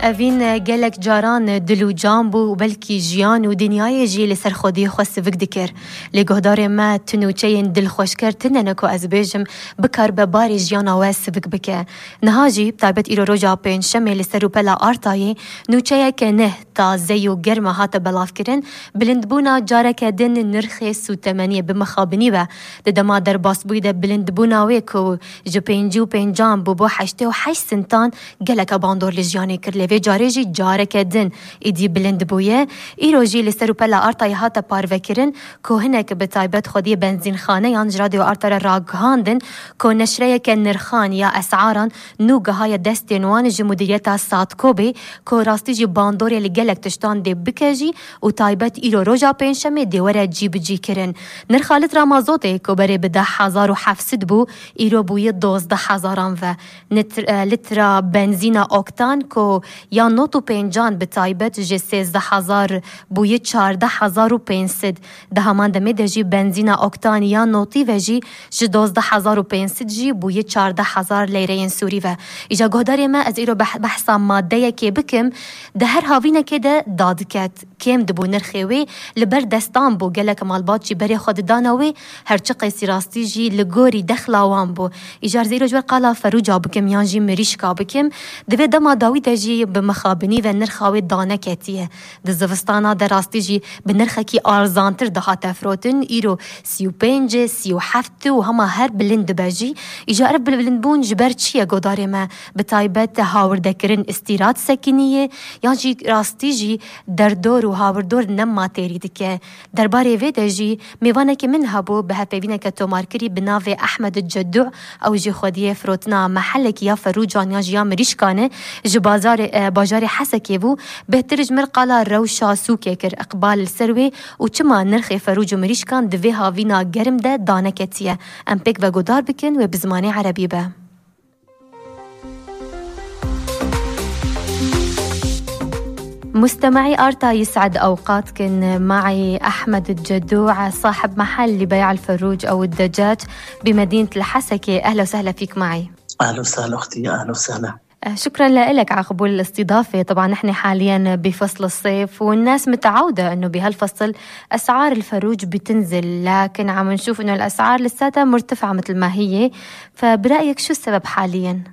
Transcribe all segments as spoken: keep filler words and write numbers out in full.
Evîn gelek caran dil û can bû û belkî jiyan û dinyayê jî li ser xwediyê xwe sivik dikir. Lê guhdarê me, tu nûçeyên dilxweşker tune ne ku ez bêjim, bikaribe barê jiyana we sivik bike. Niha jî, bi taybet îro roja pêncşemê li ser rûpela Artayê, nûçeyeke neh, taze û germa hate belavkirin, bilindbûna careke din nirxê sûtemeniyê bi mixabinî ve di dema derbasbûyî de bilindbûna wê ku ji pêncî û pêncan bû bo heştê û heşt sintan, geleke bandor li jiyanê kir, lê vê carê jî careke din êdî bilind bûye. Îro jî li ser rûpela Artayê hate parvekirin ku hinek bi taybet xwediyê benzînxaneyan ji Radyo Arta re ragihandin ku neşreyeke nirxan ya es'aran nû gihaye destên wan ji Mudîriyeta Sadkobê ku rastî jî bandorê li gelek tiştan dê bike jî û taybet îro roja pêncşemê dê were cîbicî kirin. Nirxa litra mazotê ku berê bi deh hezar û heft sed bû, îro bûye dozdeh hezaran ve. Nitr-, e, litra benzîna oktan ku ya nod û pêncan bi taybet ji sêzdeh hezar bûye çardeh hezar û pênc sed. Di heman demê de jî benzîna oktan ya notî ve jî ji dozdeh hezar û pênc sed jî bûye çardeh hezar leyreyên Sûrî ve. Îja guhdarê me, ez îro beh-, behsa madeyekê bikim, di her havînekê de dadiket. Kêm dibû nirxê wê, li ber destan bû, gelek malbat jî berê xwe didana wê, her çi qeysî rastî jî li gorî dexla wan bû. Îcar zîro ji wer qala ferûca bikim yan jî mirîşka bikim, di vê dema dawî de jî bi mixabinî ve nirxa wê daneketiye. Di zivistana de rastî jî bi nirxekî arzantir dihate firotin, îro sî û pênc, sî û heft û hema her bilind dibe jî. Îcar ev bilindbûn ji ber çi ye godarê me? Bi taybet hawirdekirin îstîrat sekinî ye, yan jî rastî jî derdor û hawirdor nema têrî dike. Derbarê vê de jî mêvanekî min hebû, bi hevpeyvîneke tomarkirî bi navê Ehmed Cedû, ew jî xwediyê firotina mehelekî ya ferûcan yan jî ya mirîşkan e, ji bazarê, e, bajarê Hesekê bû, bêhtir ji mir qala rewşa sûkê kir, iqbal li ser wê û çima nirxê ferûc û mirîşkan di vê havîna germ de daneketiye. Em pêk ve guhdar bikin, wê bi zimanê erebî be. مستمعي آرتا يسعد أوقاتكن. معي أحمد الجدوع، صاحب محل لبيع الفروج أو الدجاج بمدينة الحسكة. أهلا وسهلا فيك معي. أهلا وسهلا أختي، أهلا وسهلا. آه، شكرًا لك على قبول الاستضافة. طبعًا نحن حاليًا بفصل الصيف، والناس متعودة إنه بهالفصل أسعار الفروج بتنزل، لكن عم نشوف إنه الأسعار لساتها مرتفعة مثل ما هي. فبرأيك شو السبب حاليًا؟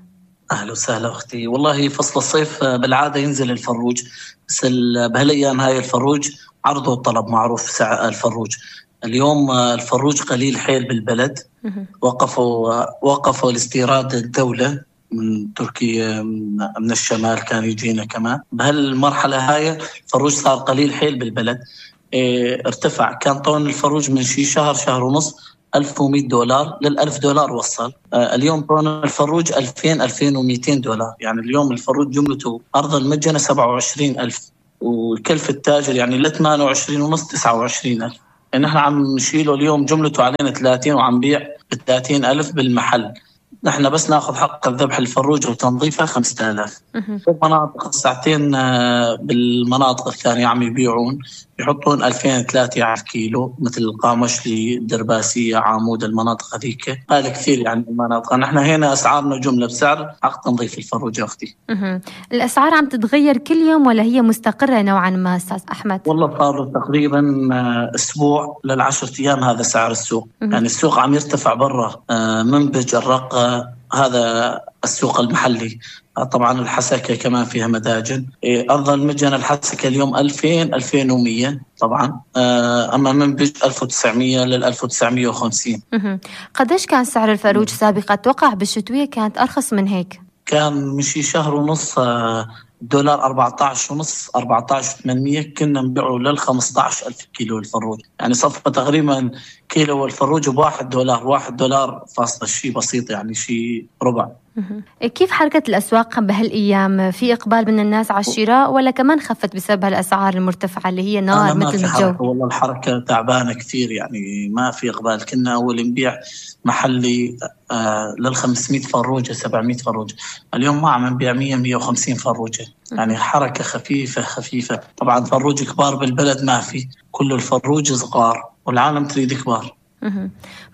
أهلا وسهلا أختي. والله فصل الصيف، آه، بالعادة ينزل الفروج، بس ال-، بهالأيام هاي الفروج عرض وطلب، معروف سعر الفروج. اليوم، آه، الفروج قليل حيل بالبلد. وقفوا، آه، وقفوا الاستيراد الدولة من تركيا، من، من الشمال كان يجينا كمان. بهالمرحلة هاي الفروج صار قليل حيل بالبلد. إيه، ارتفع. كان طن الفروج من شي شهر، شهر ونص، ألف ومية دولار، للألف دولار وصل. آه، اليوم طن الفروج ألفين، ألفين وميتين دولار. يعني اليوم الفروج جملته أرض المجنة سبعة وعشرين ألف، وكلف التاجر يعني ل ثمانية وعشرين ونص، تسعة وعشرين ألف. يعني نحن عم نشيله اليوم جملته علينا ثلاثين، وعم بيع ب ثلاثين ألف بالمحل. نحن بس ناخذ حق الذبح الفروج وتنظيفها خمسة آلاف. في المناطق الساعتين، آه، بالمناطق الثانية عم يبيعون، يحطون ألفين، ثلاثة على الكيلو، مثل القامشلي، الدرباسية، عامود، المناطق هذيك. غالي كثير يعني المناطق. نحن هنا أسعارنا جملة بسعر حق تنظيف الفروج يا أختي. الأسعار عم تتغير كل يوم ولا هي مستقرة نوعًا ما، أستاذ أحمد؟ والله صار له تقريبًا، آه، أسبوع للعشرة أيام هذا سعر السوق. يعني السوق عم يرتفع برا، آه، منبج، الرقة، هذا السوق المحلي. آه، طبعًا الحسكة كمان فيها مداجن. إيه، أرض المجنة الحسكة اليوم ألفين، ألفين ومية طبعًا. آه، أما منبج ألف وتسعمية لل ألف وتسعمية وخمسين. قديش كان سعر الفروج سابقًا؟ أتوقع بالشتوية كانت أرخص من هيك. كان من شي شهر ونص، آه، الدولار أربعتعش ونص، أربعتعش وثمنمية، كنا نبيعه لل خمستعش ألف كيلو الفروج. يعني صفى تقريبًا كيلو الفروج بواحد دولار، واحد دولار فاصلة شي بسيط، يعني شي ربع. كيف حركة الأسواق بهالأيام؟ في إقبال من الناس على الشراء ولا كمان خفت بسبب هالأسعار المرتفعة اللي هي نار ما مثل في الجو؟ حركة، والله الحركة تعبانة كثير، يعني ما في إقبال. كنا أول نبيع محلي، آه، لل خمسمية فروجة، سبعمية فروجة. اليوم ما عم نبيع مية، مية وخمسين فروجة. يعني حركة خفيفة، خفيفة. طبعًا فروج كبار بالبلد ما في، كل الفروج صغار، والعالم تريد كبار.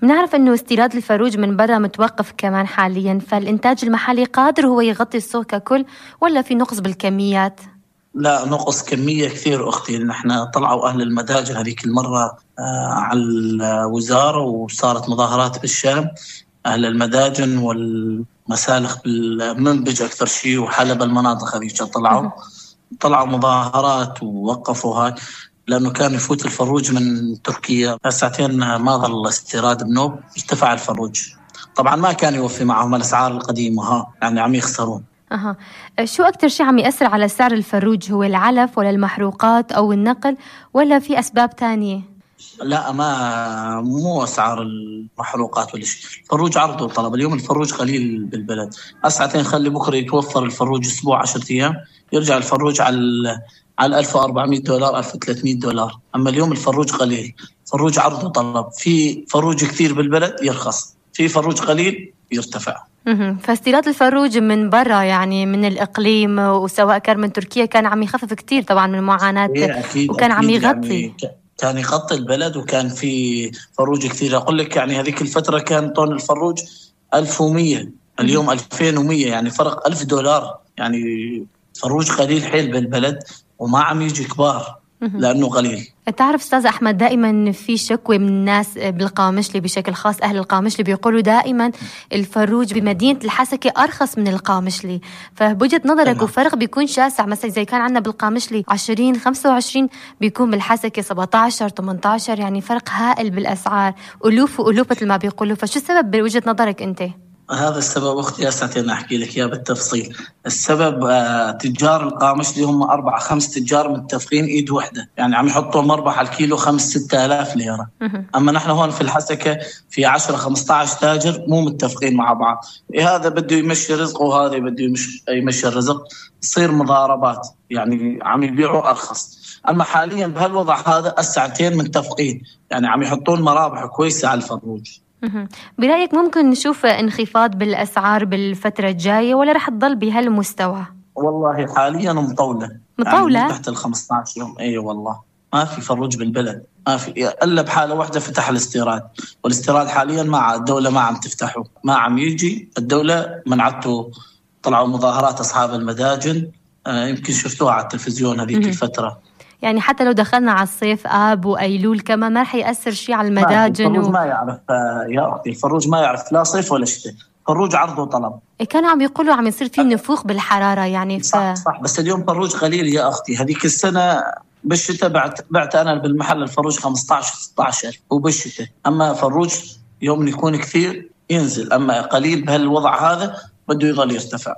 بنعرف إنه استيراد الفروج من برا متوقف كمان حاليًا، فالإنتاج المحلي قادر هو يغطي السوق ككل، ولا في نقص بالكميات؟ لا، نقص كمية كثير أختي. نحن طلعوا أهل المداجن هذيك المرة، آه، على الوزارة، وصارت مظاهرات بالشام. أهل المداجن والمسالخ بالمنبج أكثر شيء، وحلب، المناطق هذيك طلعوا. طلعوا مظاهرات ووقفوا هاي، لأنه كان يفوت الفروج من تركيا. هساعتين ما ظل استيراد بنوب، ارتفع الفروج. طبعًا ما كان يوفي معهم الأسعار القديمة، ها، يعني عم يخسرون. أها. شو أكتر شي عم يأثر على سعر الفروج؟ هو العلف ولا المحروقات أو النقل، ولا في أسباب تانية؟ لا، ما، مو أسعار المحروقات ولا شيء. الفروج عرض وطلب. اليوم الفروج قليل بالبلد. هساعتين خلي بكرة يتوفر الفروج أسبوع، عشرة أيام، يرجع الفروج على ال-، على ألف وأربعمية دولار، ألف وثلاثمية دولار. أما اليوم الفروج قليل. فروج عرض وطلب. في فروج كثير بالبلد يرخص، في فروج قليل يرتفع. مهم. فاستيراد الفروج من برا، يعني من الإقليم، وسواء كان من تركيا، كان عم يخفف كتير طبعًا من معاناة، إيه، أكيد، وكان عم أكيد، يغطي. يعني ك-، كان يغطي البلد، وكان في فروج كتير. أقول لك، يعني هذيك الفترة كان طن الفروج ألف ومية، اليوم ألفين ومية، يعني فرق ألف دولار. يعني فروج قليل حيل بالبلد، وما عم يجي كبار لأنه قليل. تعرف أستاذ أحمد، دائمًا في شكوى من الناس بالقامشلي بشكل خاص، أهل القامشلي بيقولوا دائمًا الفروج بمدينة الحسكة أرخص من القامشلي. فبوجهة نظرك، وفرق بيكون شاسع، مثلًا إذا كان عندنا بالقامشلي عشرين، خمسة وعشرين، بيكون بالحسكة سبعتاشر، تمنتاشر، يعني فرق هائل بالأسعار، ألوف وألوف مثل ما بيقولوا. فشو السبب بوجهة نظرك أنت؟ هذا السبب أختي، هسه أنا أحكي لك إياه بالتفصيل. السبب، آه، تجار القامشلي هم أربعة خمس تجار متفقين إيد وحدة، يعني عم يحطوا مربح على الكيلو خمس ستة آلاف ليرة. أما نحن هون في الحسكة في عشرة خمستعش تاجر مو متفقين مع بعض. إيه، هذا بده يمشي رزقه وهذا بده يمش-، يمشي الرزق، تصير مضاربات، يعني عم يبيعوا أرخص. أما حاليًا بهالوضع هذا الساعتين متفقين، يعني عم يحطون مرابح كويسة على الفروج. برأيك ممكن نشوف انخفاض بالأسعار بالفترة الجاية، ولا رح تضل بهالمستوى؟ والله حاليًا مطولة. مطولة؟ يعني من تحت ال خمستعش يوم. إي والله. ما في فروج بالبلد. ما في. إلا بحالة واحدة فتح الاستيراد. والاستيراد حاليًا ما ع-، الدولة ما عم تفتحه. ما عم يجي. الدولة منعته. طلعوا مظاهرات أصحاب المداجن. آه، يمكن شفتوها على التلفزيون هذيك الفترة. يعني حتى لو دخلنا على الصيف، آب وأيلول كمان، ما رح يأثر شي على ما في. المداجن الفروج و- ما يعرف، آه، يا أختي، الفروج ما يعرف لا صيف ولا شتاء. الفروج عرض وطلب. إيه، كانوا عم يقولوا عم يصير في نفوخ بالحرارة، يعني، ف- صح، صح. بس اليوم فروج قليل يا أختي. هذيك السنة بالشتاء بعت، بعت أنا بالمحل الفروج خمستعش، ستعش ألف، وبالشتاء. أما فروج يوم يكون كثير ينزل، أما قليل بهالوضع هذا بده يضل يرتفع.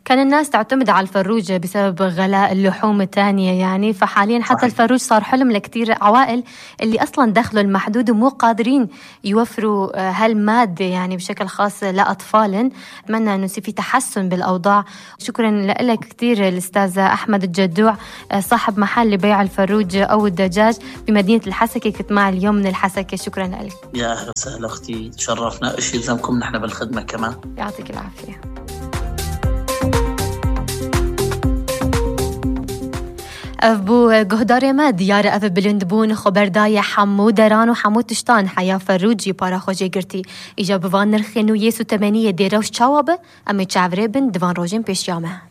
كان الناس تعتمد على الفروج بسبب غلاء اللحوم التانية، يعني، فحاليًا حتى صحيح. الفروج صار حلم لكتير عوائل اللي أصلًا دخلهم محدود ومو قادرين يوفروا، آه، هالمادة، يعني، بشكل خاص لأطفالهم. أتمنى إنه يصير في تحسن بالأوضاع. شكرًا لك كتير الأستاذ أحمد الجدوع، آه، صاحب محل لبيع الفروج أو الدجاج بمدينة الحسكة، كنت معي اليوم من الحسكة. شكرًا لك. يا أهلا وسهلا أختي، تشرفنا. إيش يلزمكم؟ نحن بالخدمة كمان. يعطيك العافية. Ev bû guhdarê me, diyar e ev bilind bûn xweberdayê hemû deran û hemû tiştan heya Ferûcî para xwe jê girtî. Îja bi van nirxên û yê sûtemeniyê dê rewş çawa be? Em ê çavirê bin di van rojên pêşiya me.